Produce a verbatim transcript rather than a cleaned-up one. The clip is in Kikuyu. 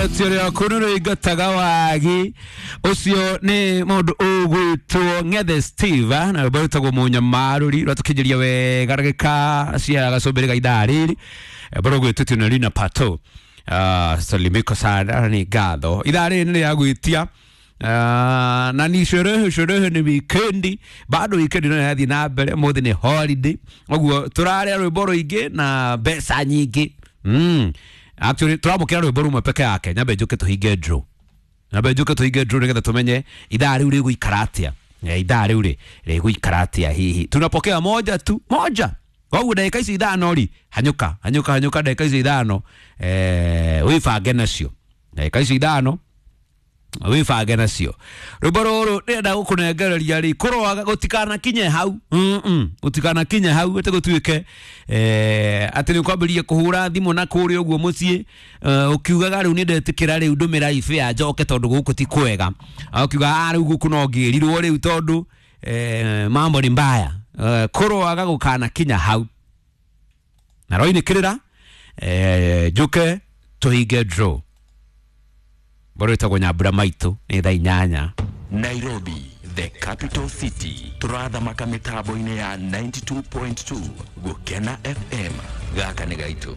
Tiũrĩa kũnũrũ ingataga wagi ũcio nĩ mũndũ ũgwĩtwo Ng'ethe Steve ah, na rwĩmbo rwĩtagwo Mũnyamarũri rwatũkinyĩria wega ndagĩka cia gacũmbĩrĩ ga ithaa rĩrĩ. Rwĩmbo rũgwĩtwo na Lina Pato. Ah, salimiko sana nĩ ngatho. Ithaa rĩrĩ nĩ rĩa gwĩtia. Ah, na ni sherehe sherehe ni wikendi bado wikendi no yathi na mbere mũthĩ nĩ holiday ũguo tũrarĩa rwĩmbo rũingĩ na mbeca nyingĩ. mm. Actually tũramũkĩra rwĩmbo rũmwe peke yake nyambe njũke tũhinge draw nyambe njũke tũhinge draw nĩgetha tũmenye ithaa rĩu rĩgũikara atĩa. Eh, ithaa rĩu rĩ rĩgũikara atĩa hihi tunapokea moja tu moja koguo ndagĩka icio ithano rĩ hanyũka hanyũka hanyũka ndagĩka icio ithano eh, wĩbange nacio ndagĩka icio ithano wibange nacio rwĩmbo rũrũ ndĩrenda gũkũnengereria rĩ kũroaga gũtikanakinye hau mm gũtikanakinye hau atĩ gũtuĩke eh, atĩ nĩ ũkwambĩrĩria kũhũra thimũ na kũrĩa ũguo mũciĩ eh, ũkiugaga rĩu nĩ ndetĩkĩra rĩu ndũmĩra ibĩa njoke tondũ gũkũ ti kwega. Ah, ũkiuga "Ah, rĩu gũkũ no ngĩrirwo rĩu tondũ eh, mambo ni mbaya." Eh, kũroaga gũkanakinya hau na roinĩ kĩrĩra eh, njũke tũhinge draw mboro ĩtagwo Nyambura Maitũ nĩ thaa inyanya. Nairobi, the capital city. Turathamaka mitambo-inĩ ya ninety-two point two Gukena F M. Gaka nĩ gaitũ.